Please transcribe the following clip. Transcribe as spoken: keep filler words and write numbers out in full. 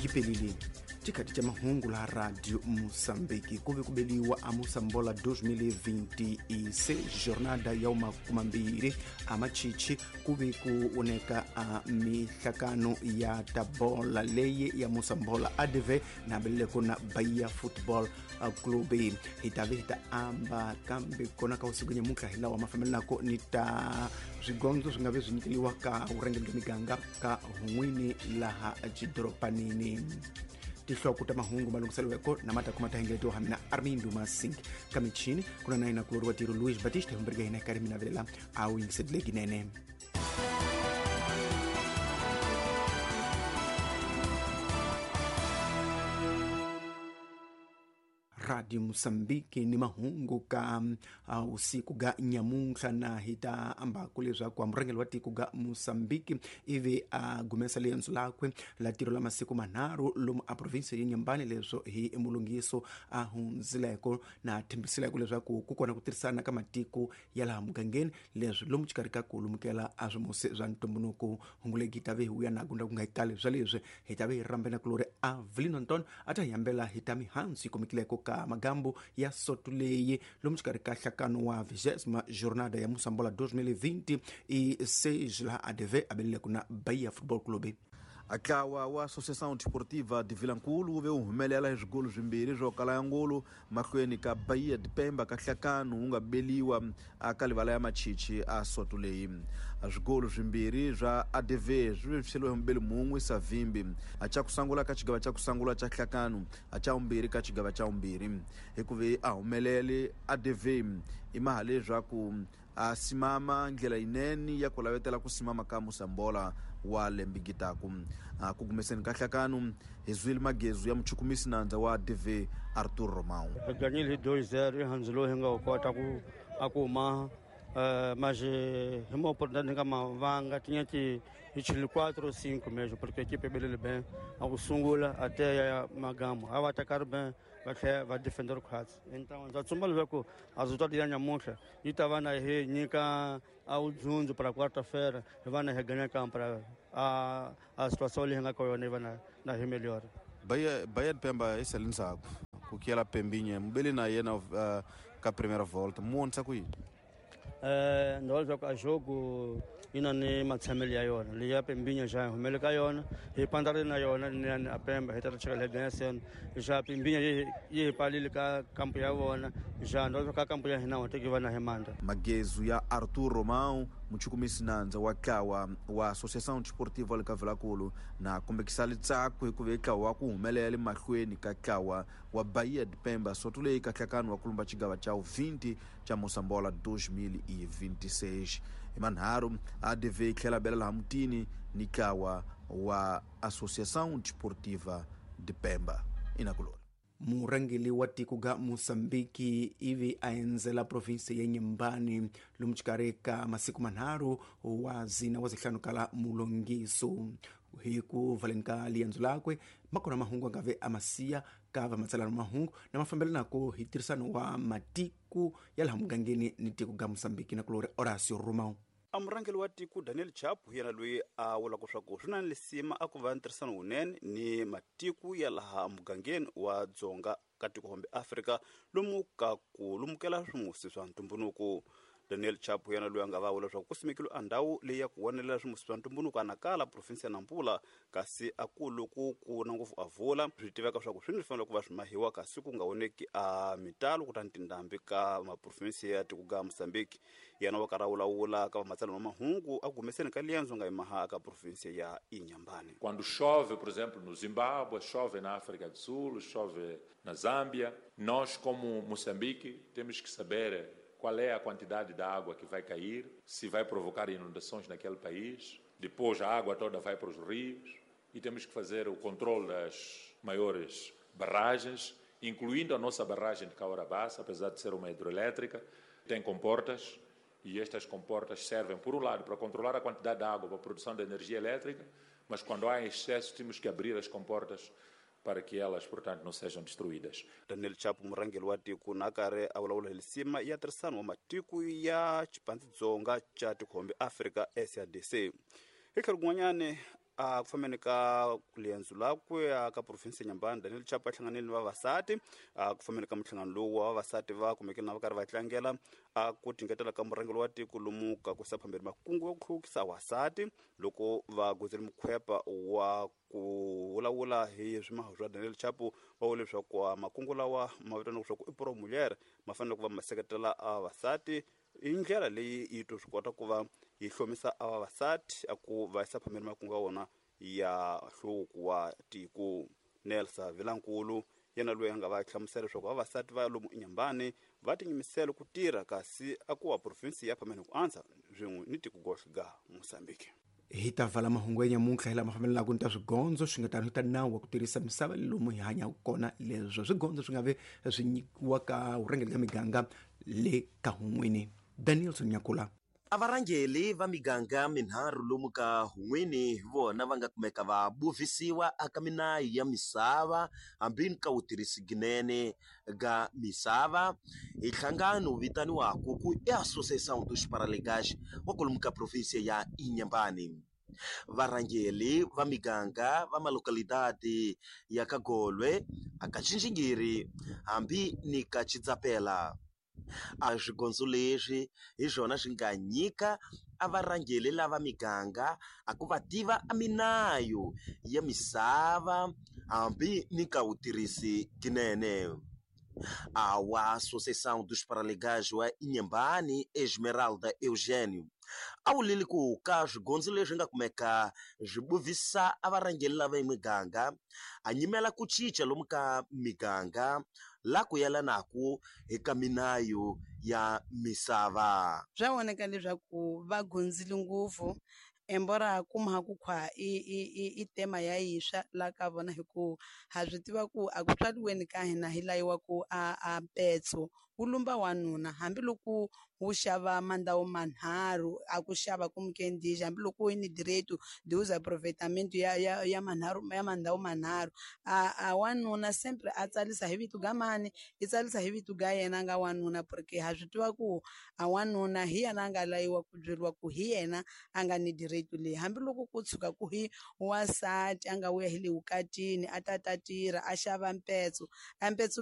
Yipelile tikati cha mahungu la Radio Moçambique kuve kubeliwa a Moçambola dois mil e vinte e seis jornada ya umakumambiri amachichi kuve kuoneka a mihlakano ya tabola leye ya Moçambola A D V na beleko na Bahia Football Club hitave hita amba kambe kona ka usiku nyamuka hilawa mafamili nako nita swigondzo swi nga ve swi nyikeliwa ka vurhangeri bya miganga ka hun'wini laha xidoropanini. Tihloko ta mahungu malunghiselweko na mata kuma tahengeletiwa hamina Armindo Masink ka michini kuna na ina kuloriwa tiro Luis Batista humberga hina kari mina velela a wu yingisetleki nene. Radio Moçambique ni mahungu ka uh, usiku ga nyamuntlha na hita ambaku leswaku murhangeri wa tiko ga Moçambique ivi a gumesa liendzo lakwe la tiro la masiku manharhu lomu a province ya Inhambane leswo hi mulungiso a hundzileko na thembisileko leswaku ku kona ku tirhisana ka matiko ya laha mugangeni leswi lomu xikarhi ka ku lumukela a swimusi swa ntumbuluko. Hunguleki ta ve hi wuya na gunda ku nga kale swa leswi hi ta ve hi rambena kulori Avelino Anton a ta hi yambela hi ta mihandzu yi kumekileko ka magambo ya sotuleyi lomu xikarhi ka nhlakano wa vigésima jornada ya Moçambola dois mil e vinte e seis la A D V abelele kuna Bahia Football Club. Ntlawa wa Associação Desportiva de Vilankulu wu ve wu humelela hi swigolo swimbirhi swo kala ya ngolo mahlweni ka Bahia de Pemba ka nhlakano wu nga beliwa ka livala ya machichi a soto leyi. Swigolo swimbirhi swa A D V swi vevuseliwe hi mubeli mun'we Savimbi a xa ku sungula ka xigava xa ku sungula xa nhlakano a xa vumbirhi ka xigava xa vumbirhi hikuva a humelele A D V i maha leswaku a simama ndlela yinene ya ku lavetela ku simama ka Moçambola wa lembigitaku. Ku gumeseni ka nhlakano hi zwile magezu ya muchukumisi nandza wa A D V Arthur Romão. Hi ganyile hi dois zero i handzu lowu hi nga wu kota ku a ku huma mas hi uma oportunidade hi nga mavanga tinha ti hi chile quatro ou cinco mesmo porque a equipe belele bem a ku sungula até ya magamo a va atacar bem va tlhela va defender khwatsi. Então ndza tsumba leswaku a resultado ya nyamuntlha yi ta va na hi nyika a wudzundzu para quarta-feira hi va na hi ganha kampo para a a situação leyi hi nga ka yona yi va na na hi melhor. Bahia Bahia de Pemba i sele ndzhaku ku kiyela Pembinha mubeli na yena uh, ka primeira volta mu vonisa ku yini? Eh ndza leswaku a jogo yi na ni matshamelo ya yona leyi ya Pembinha xa hi humele ka yona hi pandzarile na yona ni a Pemba hi ta ri cheka leyi ganya seno xa Pembinha yi yi hi palile ka kampo ya vona xa ndza leswaku ka kampo ya hina wa teki va na hi mandla. Magezu ya Arthur Romão muchukumisi nandza wa ntlawa wa Associação Desportiva le ka Vilankulu na kombekisa litsako hikuva ntlawa wa ku humelela mahlweni ka ntlawa wa Bahia de Pemba soto leyi ka nhlakano wa ku lumba xigava xa vinte xa Moçambola dois mil e vinte e seis. Hi manharhu A D V yi tlhela bela laha mutini ni ntlawa wa Associação Desportiva de Pemba inakulori. Murhangeri wa tiko ga Moçambique ivi a endzela province ya Inhambane lomu xikarhi ka masiku manharhu wa zina wa zihlanu kala mulongiso hi ku valeni ka liendzo lakwe makona mahungu a nga ve a masiya ka vamatsalano mahungu na mafambelanako hi tirhisano wa matiko ya laha mugangeni ni tiko ga Moçambique na kulori Horacio Romão. A murhangeri wa tiko Daniel Chapo hi yena loyi a vulaka leswaku swi na lisima a ku va ntirhisano wunene ni matiko ya laha mugangeni wa dzonga ka tiko hombe Afrika lomu ka ku lumukela swimusi swa ntumbuluko. Daniel Chapo yena loyi a nga va vula leswaku ku simekile a ndhawu leyi ya ku vonelela swimusi swa ntumbuluko a Nacala province ya Nampula kasi a ku loko ku na ngopfu a vula swi tiveka leswaku swi ni fanele ku va swi mahiwa kasi ku nga voneki a mitalo kutani tindhambi ka maprovinsi ya tiko ga Moçambique. Yena wa karhi a vulavula ka vamatsalani va mahungu a humeseni ka liendzo nga yimaha ka province ya Inhambane. Quando chove, por exemplo, no Zimbábue, chove na África do Sul, chove na Zâmbia, nós como Moçambique temos que saber qual é a quantidade de água que vai cair, se vai provocar inundações naquele país. Depois a água toda vai para os rios e temos que fazer o controle das maiores barragens, incluindo a nossa barragem de Cahora Bassa, apesar de ser uma hidroelétrica, tem comportas e estas comportas servem, por um lado, para controlar a quantidade de água para a produção de energia elétrica, mas quando há excesso temos que abrir as comportas para que elas, portanto, não sejam destruídas. Daniel Chapo murhangeri wa tiko na karhi a vulavula hi lisima ya tirhisano wa matiko ya xipandzidzonga xa tikhombe Afrika S A D C. Hi tlhelo kun'wanyani A ku fambeni ka liendzo lakwe ka province ya Inhambane, Daniel Chapo a hlanganile ni vavasati. A ku fambeni ka minhlangano lowu wa vavasati va kumekile na va karhi va tlangela a ku tingetela ka murhangeri wa tiko lomu ka ku yisa phambeni makungu ya ku hluvukisa vasati loko va gozele mukhwepa wa ku vulavula hi swimaho swa Daniel Chapo. Va vule leswaku makungu lawa ma vitaniwa leswaku i Pro Mulher ma fanele ku va ma seketela vavasati hi ndlela leyi yi to swi kota ku va yi hlomisa a vavasati a ku va yisa phambeni makungu ya wona ya nhluvuko wa tiko. Nelsa Vilankulu yena loyi a nga va hlamusela leswaku vavasati va lomu Inhambane va tinyimisela ku tirha kasi a ku wa province ya phambeni ku antswa swin'we ni tiko gohle ga Mozambique. Hi ta vala mahungu ya nyamuntlha hi lama fambelaka ni ta swigondzo swi nga tano hi ta nawu wa ku tirhisa misava lomu hi hanyaka kona. Leswo swigondzo swi nga ve swi nyikiwa ka vurhangeri ka miganga le ka hun'wini. Danielson Nyakula. A varhangeli va miganga minharhu lomu ka hun'wini hi vona va nga kumeka va buvisiwa aka minayi ya misava hambi ni ka wutirhisi ginene ga misava hi nhlangano wu vitaniwaku ku i Associação dos Paralegais wa kwalomu ka provinsia ya Inhambane. Varhangeli va miganga va malocalidade ya ka Golwe, aka Txinxingiri hambi ni ka Chidzapela. A swigondzo leswi hi swona swi nga nyika a varhangeli lava miganga a ku va tiva a minayo ya misava hambi ni ka wutirhisi ginene. A wa Associação dos Paralegais wa Inhambane, Esmeralda Eugênio, a wulile ku ka swigondzo leswi nga kumeka swi buvisa a varhangeli lava miganga a nyimela ku cinca lomu ka miganga la ku yelanaku eka minayo ya misava. Swa voneka leswaku va gondzile ngopfu embora kuma ku khwa i i i i tema ya yiswa la ka vona hi ku ha swi tiva ku a ku tswariweni ka hina hi layiwa ku a a mpetso wu lumba wanuna hambiloko wu xava mandawu manharhu a ku xava ku mukendixi hambiloko yi ni direito de usa aproveitamento ya ya ya manharhu ya mandawu manharhu a a wanuna sempre a tsalisa hi vito ga mani i tsalisa hi vito ga yena nga wanuna porque ha swi tiva ku a wanuna hi yena a nga layiwa ku byeriwa ku hi yena a nga ni direito leyi hambiloko ku tshuka ku hi wansati a nga vuya hi le vukatini a ta ta tirha a xava mpetso a mpetso.